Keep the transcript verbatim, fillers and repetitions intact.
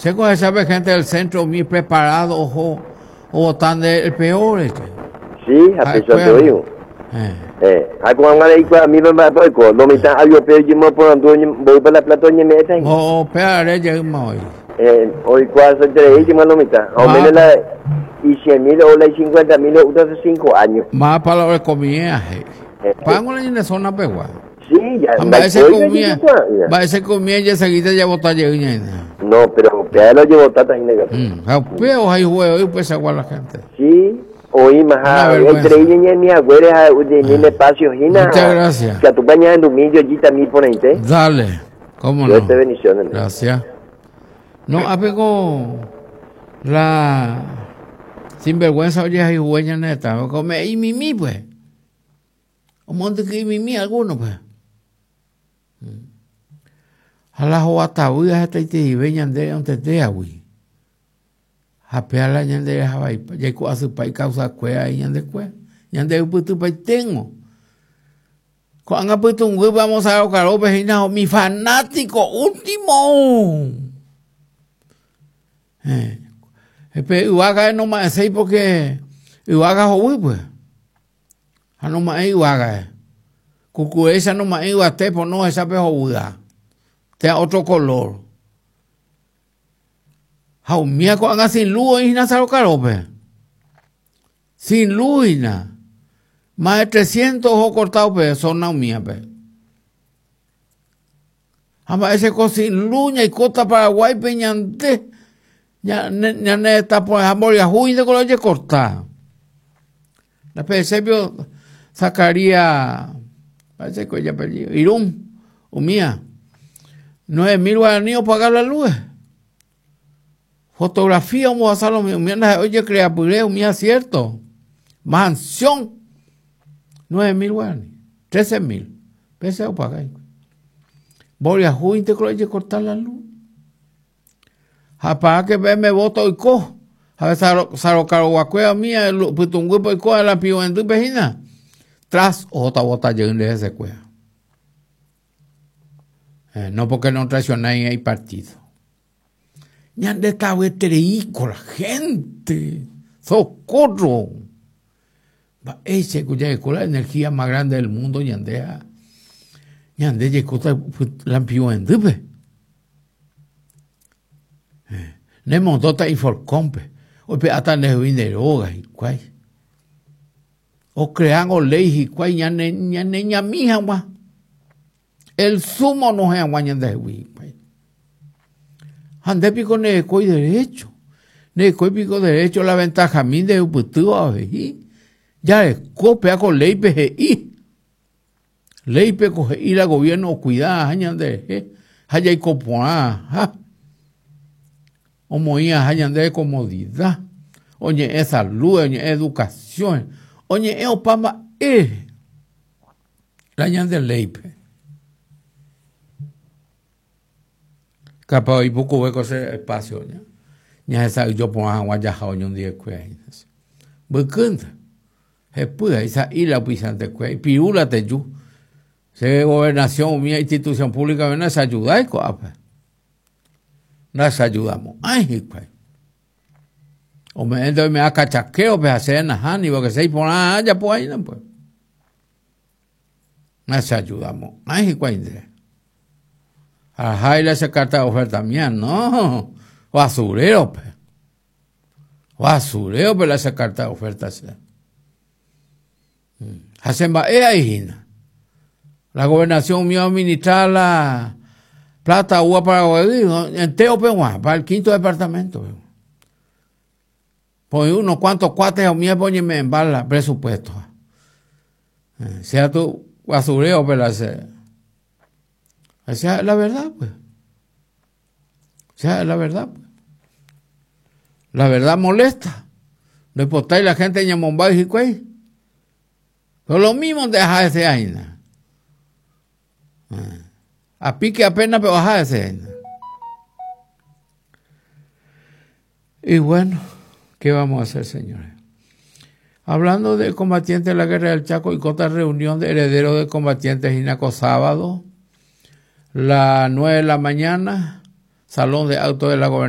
Sé que sabe gente del centro muy preparado, ojo, o tan el peor este. Sí, a pesar de ello. Eh, a cuando le digo a mí me va a poco, lo mitad algo pero yo me pongo voy para la plata ni me está. Oh, pero ya hoy. Eh, hoy cuatro tres y más lo mitad. O menos la y cien mil o la cincuenta mil o hace cinco años. Más para la comida. Pago en la zona pegua. Sí, ya. Va ese comía, va ese comía ya seguida ya botar ya. No, pero ya lo llevo tata y negro. Mm, o hay juego y pues agua la gente. Sí. Oí más entre ella y mi abuela de mi espacio Gina. Muchas gracias. Que tu baña en domingo allí también por ahí. Dale. ¿Cómo no? Dios te bendiciones. Gracias. No, apego la sinvergüenza oye hay huella neta, come y mimi pues. Un monte que mimi alguno pues. A la joata hasta te veñan de donde te agui. Japea ñande jabai ya ku asu pai causa cuea y ñande cue ñande uputu pai tengo con anga putungu vamos a caro hina mi fanático último eh pe uaga no más sei porque uaga houi pues a no más uaga cucu esa no más uate por no esa pe houda te otro color. Jaumía con anga sin luz y na carope. Sin luz y na. Más de trescientos ojos cortados pe son naumía pe. Ama ese co sin luz y costa Paraguay peñante. Ya ya ne está por jamboria juy de color corta. La P C vio sacaría parece que ya perdió. Irún, umía. Nueve mil guaraníes pagar la luz. Fotografía, vamos a hacer lo mismo. Oye, crea puré, mía cierto. Mansión. Nueve mil guaraníes. Trece mil. Pese a pagar. Voy a juntar con cortar la luz. A que me voto y co. A ver, sarocaroguacuea mía, putunguipo y co, a la pio en tu pejina. Tras otra bota lleguen de ese cuea. No porque no traicionáis el partido. Ñande estaba con la gente. ¡Socorro! Ese que la energía más grande del mundo, ñande. Ñande llegó la pio en dupe. Ne montota y forcompe. O pe ata ne vineroga y cuay. O crean o ley y cuay ñane ñane ñamija gua. El sumo no es agua ñande hui. Ande pico ne coi derecho. Ne coi pico derecho la ventaja min de uputu a veji. Ya es copia con ley P G I. Ley P G I la gobierno cuida hañan de haya y copoa ha. O moía hañan de comodidad. Oye es salud, oye educación. Oye es opama e. La hañan de ley P. Capaz y poco hueco ese espacio ya. Ya esa yo pongo agua ya jaoño un día cué. Bucunda. Jepuda esa y la pisante cué piula te yu. Se gobernación mía institución pública ven se ayuda y coapa. No se ayudamos. Ay, cué. O me endo me a cachaqueo pues hacer najani porque se pone allá pues ahí no pues. No se ayudamos. Ay, cué. Ajá, y le hace carta de oferta mía, no. Basurero, pe. Basurero, pe, le hace carta de oferta. Hacen va, eh, la gobernación mío administrar la plata uva para enteo, pe, para el quinto departamento. Pe. Pues unos cuantos cuates mío, póñeme en bala, presupuesto. Sea tu basurero, pe, le hace. O sea, la verdad, pues. O sea, la verdad, pues. La verdad molesta. No importa la gente en Yamombay y Jicuey. Pero lo mismo deja ese aina. A pique apenas, pero baja ese aina. Y bueno, ¿qué vamos a hacer, señores? Hablando de combatientes de la Guerra del Chaco y otra reunión de herederos de combatientes Ginaco sábado, las nueve de la mañana, Salón de Autos de la Gobernación.